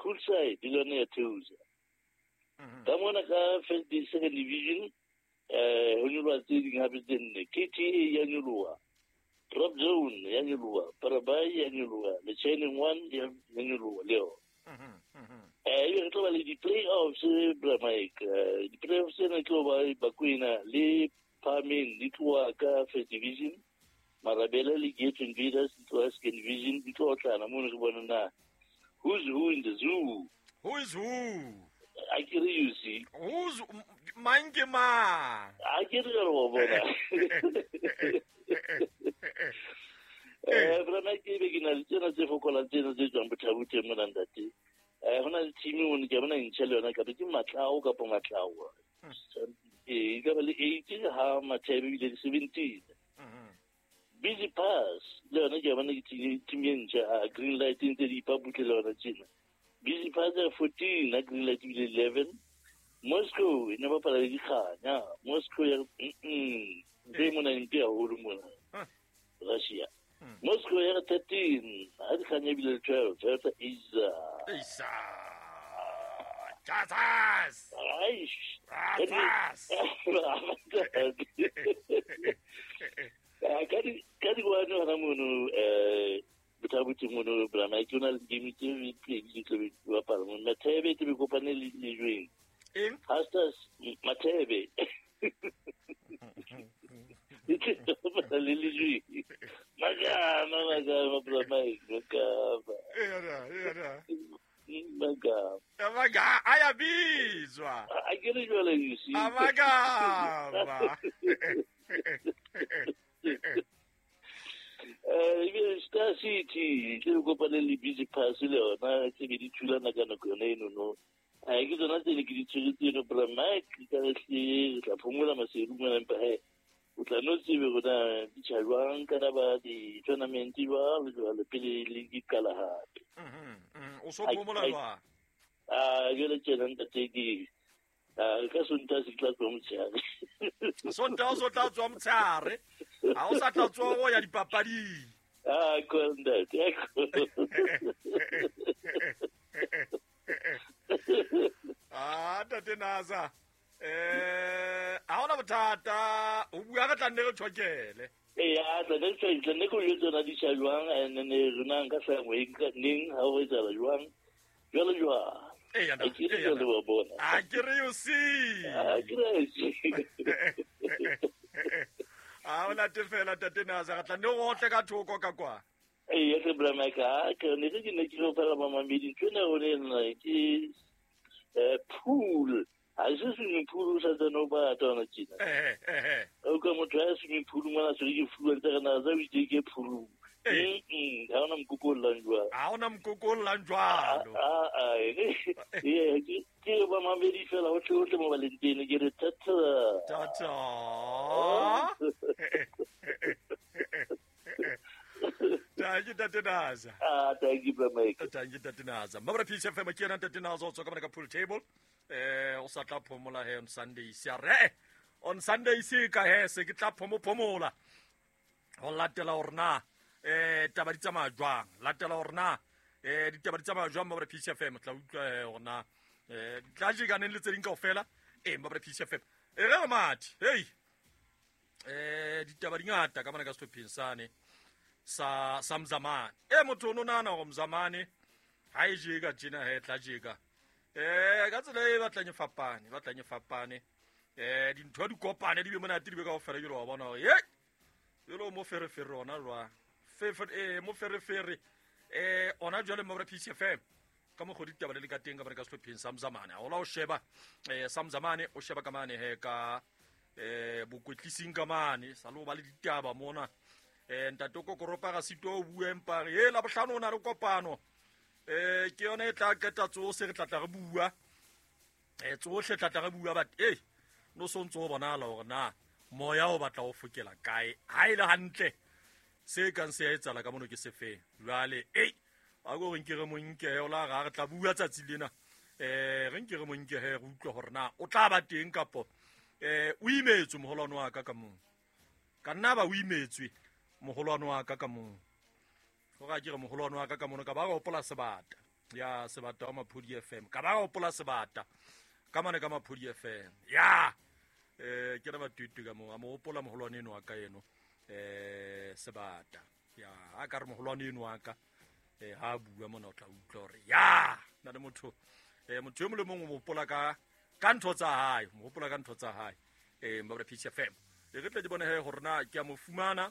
Poolside le yona ya theosa. Ka mona ka first second division ho nyoloha tse ding hape tse nne. KTA ya nyoloha, Drop Zone ya nyoloha, Parabai ya nyoloha, le Shining One ya nyoloha le yona. Ebe re tlo ba le di-playoffs, bra Mike. Di-playoffs tsena tlo ba Bakwena le Phahameng di tloha ka first division, Marabele le Gate Invaders di tloha second division, di tlo otlana mono re bona na who's who in the zoo. Who is who? A ke re you see. Who's mang ke mang? A ke re wa bona. Bra Mike, ebe ke na le tsena tse fokolang tsena tse tswang Bothaboteng mona ntate. Ho na le team mono ke a bona e ntjha le yona, kapa ke Matlao kapa Matlao. E ka ba le 8 ha Mathebe ebile le 17. Busy Pass le yona ke a bona ke team e ntjha, a Green Light e ntse di ipabutle le yona tjena. Busy Pass ya 14 ha Green Light ebile 11. Moscow e ne bapala le Dikganya. Moscow ya ntse e mona e mpe haholo mona. Russia. Moscow ya 13 ha Dikganya ebile le 12. Toyota Isa. Isa. Jesus. Aish. Jesus. Ka di one hona mono Bothabotse mono bra Mike, o na le game tse pedi di tlo be di bapala mono. Mathebe tse be kopane le Lejweng. Eng? Pastors Mathebe. Di tlo bapala le Lejweng. Magama, magama, bra Mike, magama. Ena, ena. Magama. Magama, ayabizwa. A ke re jwale, you see. Amagama. Ebile Star City ke re kopane le Busy Pass le yona tse be di thulana ka nako yone eno no. Ke tsona tse ne ke di tshwere tseno, bra Mike, ka re hle re tla phomola maseru mona, empa he o tla no tsebe rona di tjha jwang ka taba di-tournament jwalo jwalo pele le di qala hape. O so phomola jwang? Jwale tjena ntate ke ka Sontaha se tla tswa motshehare. Sontaha o so tla tswa motshehare. Ha o sa tla tswa o ya dipapading. Ko ntate. Ntate Naza. Ha hona bothata, o bua re tla nne re tjhokele. Eya, tla nne re tjhokele, tla nne ke o jwetse hore na di tjha jwang, and then rona nka hlaha moyeng ka neng, ha ho etsahala jwang, jwalo jwalo. Eya, A ke re eya, jwale wa bona. A ke re you see. A ke re you see. A o late fela Ntate Naza, re tla nne re otle ka thoko ka kwa. Eya, hle bra Mike, ha ke ne ke ne ke re fela mamamedi, ntho ena o ne nna ke pool. Ha se swimming pool o sa tsena o bata hona tjena. O ka motho ya swimming pool mona se ke fuwa ntse re na tsa o itse ke pool. Ha ona mokoko o llang jwalo. Ha ona mokoko o llang jwalo. Ke ba mamedi fela ho tle mo Valentine ke re tata. Tata. Thank you, Ntate Naza. Thank you, Bra Mike. Thank you, Ntate Naza. Mabra Peace FM ke yena Ntate Naza o tswa ka mona ka pool table. O sa tla phomola he on Sunday se re. On Sunday se ka he se ke tla phomo phomola. Ho latela hore na taba di tsamaya jwang. Latela hore na ditaba di tsamaya jwang Mabra Peace FM. Tla utlwa he hore na tla jekaneng le tse ding kaofela. Mabra Peace FM. E re mathe. Hey. Ditaba di ngata ka mona ka sehlopheng sane sa Mzamane. Motho o no nahana hore Mzamane ha e jeka tjena he tla jeka. Ka tsela e batlang e fapane, batlang e fapane. Dintho di kopane di be monate di be kaofela, ke lo bona hore hey, jwale mo ferefere ona jwang. Fefe, mo ferefere, ona jwale mo Peace FM. Ka mokgwa ditaba le ka teng ka mona ka sehlopheng sa Mzamane. Ha o la o sheba, sa Mzamane o sheba ka mane he ka bokwetlising ka mane, sa lo ba le ditaba mona. Ntate Kokoropa ga sito o bua empa re, la bohlano o na le kopano. Ke yona e tla qeta tsohle re tla tla re bua. Tsohle tla tla re bua, but no so ntso o bonahala hore na moya o batla o fokela kae. Ha e le hantle se kang se a etsahala ka mono ke sefeng. Jwale, a ko re nke re mo nke he, o la ra re tla bua tsatsi lena. Re nke re mo nke he, re utlwe hore na o tla ba teng kapo, o imetswe moholwane wa ka ka mong. Ka nna ba o imetswe moholwane wa ka ka mong. Hore a ke re moholwane wa ka ka mono, ka ba re hopola sebata. Ya Sebata wa Maphodi FM. Ka ba hopola Sebata ka mane ka Maphodi FM. Ya ke re batutu ka mo a mo hopola moholwane eno wa ka eno Sebata. Ya a ka re moholwane eno wa ka ha bua mona o tla utlwa hore ya na le motho motho e mong le mong o mo hopola ka ntho tsa hae, mo hopola ka ntho tsa hae. Mabra Peace FM. E re tle ke bone he hore na ke a mo fumana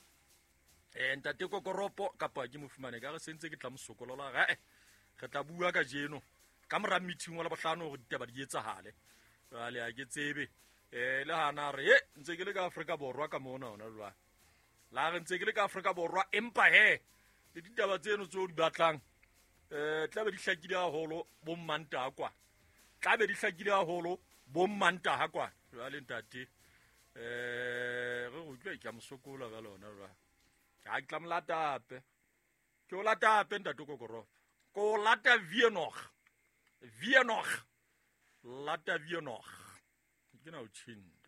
ntate Kokoropo kapa ke mo fumane ka re sentse ke tla mo sokolola ga re tla bua ka jeno ka mora meeting wa Labohlano hore ditaba di etsahale. Jwale ha ke tsebe le hana re ntse ke le ka Afrika Borwa ka mona hona jwale. La re ntse ke le ka Afrika Borwa empa he le ditaba tseno tseo di batlang tla be di hlakile haholo bo Mmantaha kwa. Tla be di hlakile haholo bo Mmantaha kwa. Jwale ntate re utlwe ke a mo sokola ka lona jwale. Ha ke tla mo lata hape. Ke o lata hape ntate Kokoropo. Ko lata Vienog. Vienog. Lata Vienog. Ke na o tjhinda.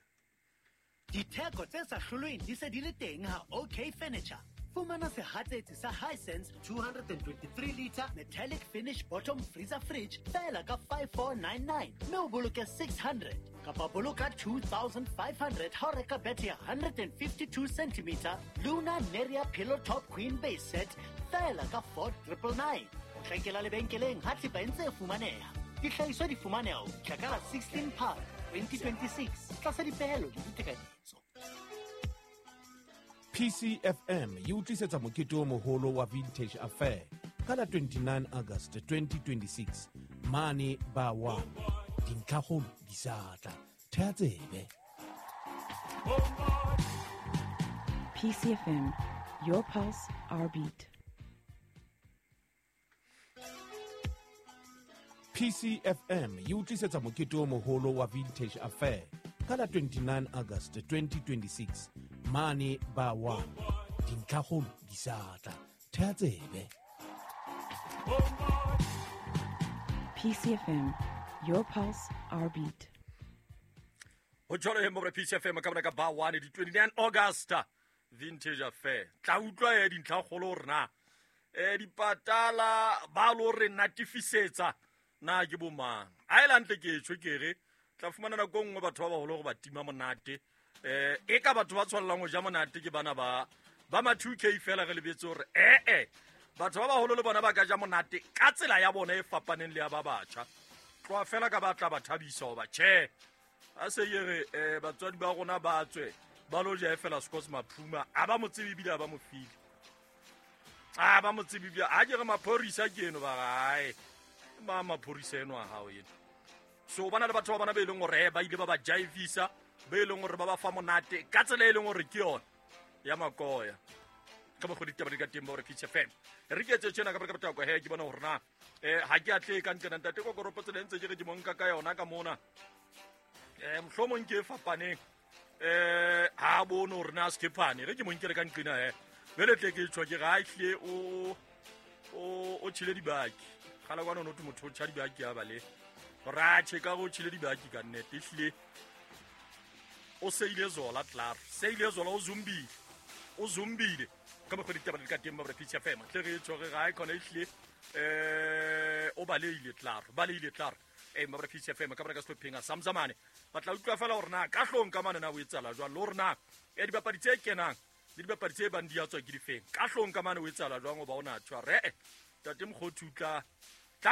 Ditheko tse sa hlolweng di se di le teng ha OK Furniture. Fumana sehatsetsi sa Hisense 223 liter metallic finish bottom freezer fridge fela ka 5499 mme o boloke 600 kapa boloka 2500 ha o reka bethe ya 152 cm Luna Neria Pillow Top Queen Base Set fela ka 4999. O hlakela lebenkeleng ha thepa e ntse e fumaneha. Dihlahiswa di fumaneha ho fihla ka la 16 Phato 2026 tlasa dipehelo le ditekanyetso. PCFM e utlisetsa mokete o moholo wa Vintage Affair ka la 29 August 2026 mane ba 1. Dintlhakgolo di sa tla. Theha tsebe. PCFM, your pulse, our beat. PCFM e utlisetsa mokete o moholo wa Vintage Affair ka la 29 August 2026 mane ba 1. Dintlhakgolo di sa tla. Theha tsebe. PCFM, your pulse, our beat. Ho jwalo he mobra PCFM ka bona ka ba 1 di 29 August Vintage Affair. Tla utlwa dintlhakgolo hore na dipatala ba lo re natifisetsa na ke bo mang. A e lantle ke tjho ke re tla fumana nako nngwe batho ba baholo hore ba tima monate. E ka batho ba tshwallang ho ja monate ke bana ba ma 2K fela re lebetse hore batho ba baholo le bona ba ka ja monate ka tsela ya bona e fapaneng le ya ba batjha. Tloha fela ka batla ba thabisa hoba tjhe a se ye re batswadi ba rona ba tswe ba lo ja fela Scotts Maphuma a ba mo tsebe ebile a ba mo file. A ba mo tsebe ebile a ke re maphorisa ke eno ba gae. Ma maphorisa eno a hao eno. So bana le batho ba bana be leng hore ba ile ba ba jaivisa be leng hore ba ba fa monate ka tsela e leng hore ke yona ya makoya. Ka mo go ditaba di ka teng ba hore Peace FM. Re ke etse tjena ka baka kwa he ke bona hore na ha ke atle ka ntlena ntate Kokoropo tsela ntse ke re ke mo nka ka yona ka mona. Mohlomong ke e fapaneng. Ha bone hore na Skephane re ke mo nkere ka nqina he. Bele tle ke tjho ke ga hle o tshile dibaki. Kgala kwana no motho o tjha dibaki ya bale. Ra che ka go tshile dibaki ka nnete hle. O seile zola klaar. Seile zola o zumbile. O zumbile. Ka mo go ditaba di ka teng ba re Peace FM. Tle re tjho re ga e khona hle. O baleile klaar. Baleile klaar. Mabra Peace FM ka baka sehlopheng sa Mzamane. Ba tla utlwa fela hore na ka hlong ka mane na o etsala jwang le hore na dibapadi tse kenang le dibapadi tse bang di a tswa ke difeng. Ka hlong ka mane o etsala jwang hoba o na tshwa re tate Mokgothu tla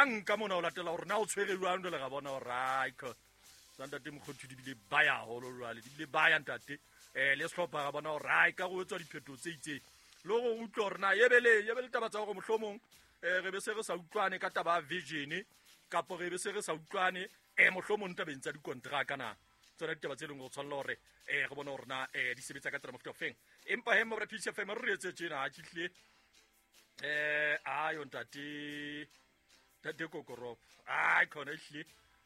nka mona o latela hore na o tshwere jwang jwale ga bona hore ai ko tsa ntate Mokgothu di bile ba ya holo jwale di bile ba ya ntate le sehlopha ga bona hore ai ka go etswa diphetho tse itseng le go utlwa hore na yebele taba tsa hore mohlomong re be se re sa utlwane ka taba ya vision kapo re be se re sa utlwane mohlomong tabeng tsa dikontraka na tsona ditaba tse leng go tshwanela hore re bone hore na di sebetsa ka tsela mofuta ofeng. Empa he mobra Peace FM re etse tjena ha tjhihle ayo ntate Kokoropo ai khona hle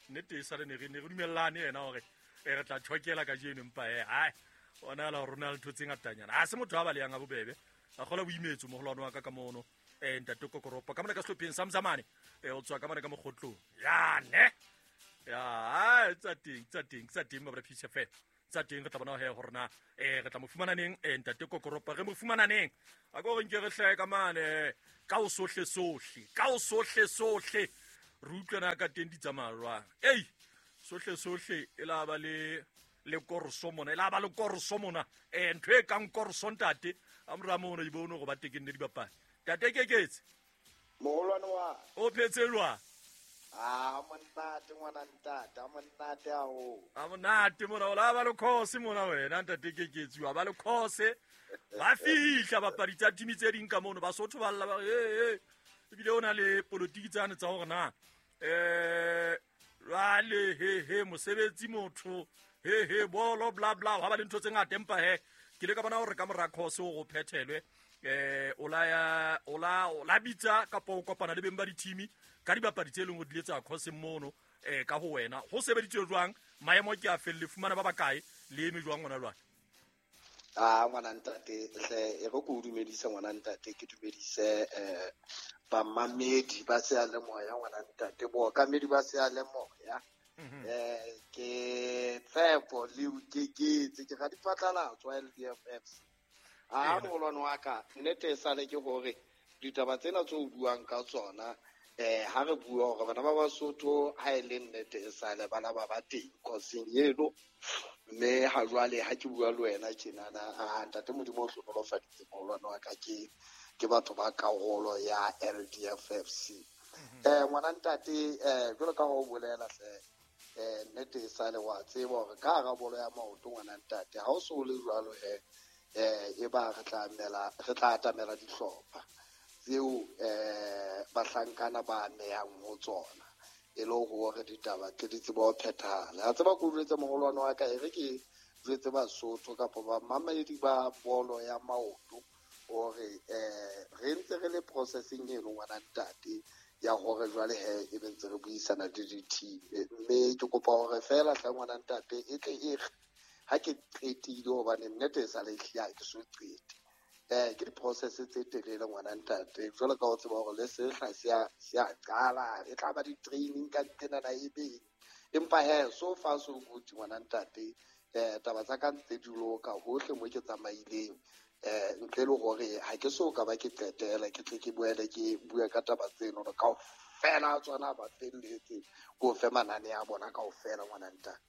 nnete e sale ne re dumellane yena hore re tla tjhokela ka jeno empa ai ona la rona le ntho tse ngatanyana a se motho a baleyang a bobebe a kgola boimetso moholwane wa ka ka mono ntate Kokoropo ka mona ka sehlopheng sa Mzamane o tswa ka mona ka mokgotlong ya ne ya tsa teng mabra Peace FM tsa teng re tla bona he hore na re tla mo fumana neng ntate Kokoropo re mo fumana neng a go re nke re hlae ka mane ka o sohle sohle ka o sohle sohle Re utlwana ka teng di tsamaya jwang. Ei, sohle sohle e la ba le le koroso mona, e la ba le koroso mona. Ntho e kang koroso ntate, a mora mono di bone hore ba tekenne dibapadi. Ntate Keketse. Moholwane wa. O phetse jwang? A monate ngwana ntate, a monate haholo. A monate mona, o la ba le course mona wena ntate Keketse, wa ba le course. Ba fihla bapadi tsa team tse ding ka mono, Basotho ba lla ba re, ebile o na le politiki tsane tsa hore na jwale he mosebetsi motho he bolo bla bla, ha ba le ntho tse ngata, empa he ke le ka bona hore ka mora course o go phethelwe o la bitsa kapa o kopana le beng ba di-team ka dibapadi tse leng hore di le tsa course mono ka ho wena ho sebeditswe jwang, maemo ke a felle, fumana ba bakae le eme jwang ngwana jwang? A ngwana ntate hle, e re ko o dumedise ngwana ntate, ke dumedise bamamedi ba seyalemoya ngwana ntate, bookamedi ba seyalemoya. Ke Tshepo le Keketse, ke radiphatlalatso wa LDFFC. A moholwane wa ka, nnete e sale ke hore ditaba tsena tse o buang ka tsona, ha re bua hore bana ba Basotho ha e le nnete e sale bana ba ba teng koseng eno, mme ha jwale ha ke bua le wena tjenana, a ntate Modimo o hlohonolofaditse moholwane wa ka, ke batho ba karolo ya LDFFC. Ngwana ntate, jwalo ka ha o bolela hle, nnete e sale wa tseba hore ka hara bolo ya maoto ngwana ntate, ha o so le jwalo he, e ba re tla atamela dihlopha tseo bahlankana ba amehang ho tsona, e le hore ditaba tle di tsebe ho phethahala. A tseba ko jwetse moholwane wa ka, e re ke jwetse Basotho kapa bamamedi ba bolo ya maoto hore re ntse re le processing eno ngwana ntate ya hore jwale he e be ntse re buisana le di-team, mme ke kopa hore feela hle ngwana ntate e tle e re ha ke qetile, hobane nnete e sa le ehlile ha ke so qete. Ke di-process tse telele ngwana ntate, jwalo ka o tseba hore le sehla se a qala, e tla ba di-training ka ntenana e beng, empa he so far so good ngwana ntate. Taba tsa ka ntse di loka hohle mo ke tsamaileng, ntle le hore ha ke so ka ba ke qetela, ke tle ke boele ke bue ka taba tseno hore kaofela tsona ba felletse, ko fe manane a bona kaofela ngwana ntate.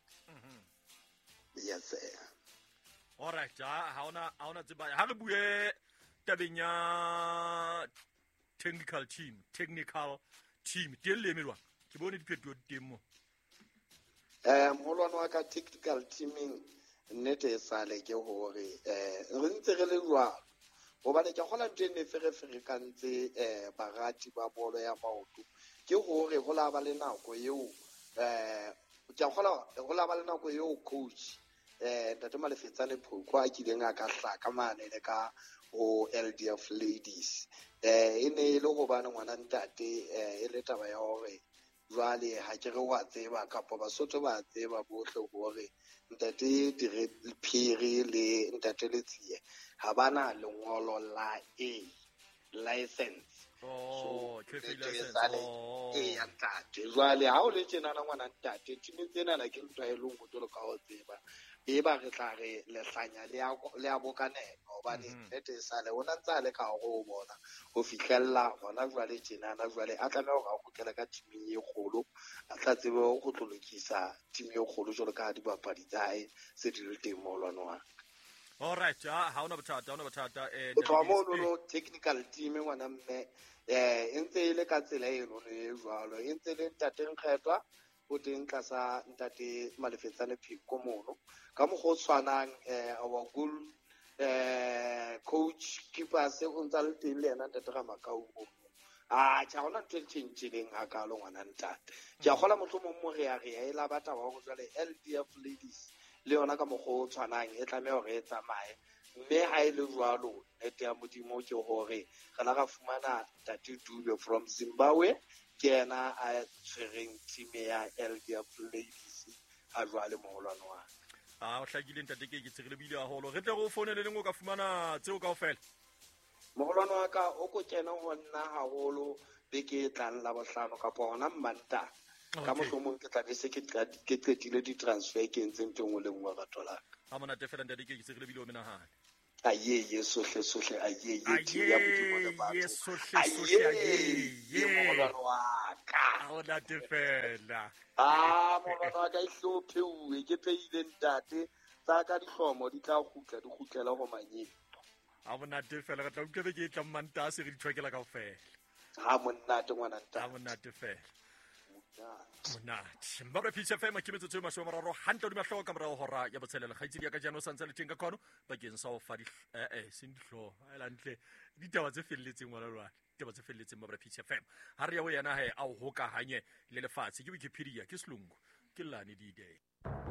Yes. All right, ha ona tseba ha re bue tabeng ya technical team teng le eme jwang? Ke bone diphetoho di teng mo. Moholwane wa ka, technical teaming nnete e sale ke hore re ntse re le jwalo, hobane ke kgola ntho e ne fereferekantse barati ba bolo ya maoto, ke hore ho la ba le nako eo ke kgola ho la ba le nako eo coach ntate Malefetsane Phoko a kileng a ka hlaka mane le ka ho LDF Ladies. E ne e le hobane ngwana ntate e le taba ya hore jwale ha ke re wa tseba kapa Basotho ba tseba bohle hore ntate Dire Phiri le ntate Letsie ha bana lengolo la A license. Oh, so, license. Ya ntate. Jwale ha o le tjenana ngwana ntate, team tsenana ke ntho e leng ho jwalo ka ho tseba. E ba re tla re lehlanya le a bokanela, hobane nnete e sale o na ntse a le ka hare ho bona ho fihlella hona jwale tjenana, jwale a tlameha hore a kgutlele ka teaming e kgolo, a tla tsebe ho tlo lokisa team e kgolo jwalo ka dibapadi tsa hae se di le teng moholwane wa ka. All right, ha ona bothata. Ho tloha mono technical team ngwana mme, e ntse e le ka tsela eno e jwalo, e ntse le ntate Nkgethwa o teng tlasa ntate Malefetsane Pheko mono. Ka mokgwa o tshwanang our goal coach keeper se o ntsa le teng le yena ntate Ramakau mono. Tjhe, ha hona ntho e tjhentjhileng hakalo ngwana ntate. Ke a kgola mohlomong mo re ya e la batla wa hore jwale LDF Ladies le yona ka mokgwa o tshwanang e tlameha hore e tsamaye, mme ha e le jwalo nnete ya Modimo ke hore re la ra fumana ntate Dube from Zimbabwe, ke yena a tshwereng team ya LDF Ladies ha jwale moholwane wa ka. O hlakile ntate ke tsere bile haholo. Re tle re o founele leng o ka fumana tseo kaofela. Moholwane wa ka o ko kena ho nna haholo beke e tlang la bohlano kapa hona Mmantaha. Ka mohlomong ke tla be se ke qetile di-transfer ke entse ntho e nngwe le nngwe batho la ka. Ha monate fela ntate ke tsere bile o menahane. Ayeye sohle sohle, ayeye team ya Modimo le Ayeye batho. Sohle sohle, Ayeye ayeye. Mogolwane wa ka. A o nate fela. Ah, mogolwane wa ka, e hlopheuwe ke pheile ntate tsa ka, dihlomo di tla kgutla, di kgutlela go manyeng. A monate fela, re tla utlwa beke e tlang Mantaha se re di tshwakela kaofela. Ha monate ngwana A ntate. Monate fela. Monate mbabre Peace FM, ke metsotso e 30 hantle hodima hlooho ka morao hora ya botshelela. Kgaitsedi ya ka jaanong o santse le teng ka kwano bakeng sa ho fa seng dihlooho a elantle ditaba tse felletseng ngwana lwane, ditaba tse felletseng. Mbabre Peace FM, ha re ya ho yena he a o hokahanye le lefatshe ke Wikipedia, ke selungu, ke lane d-day.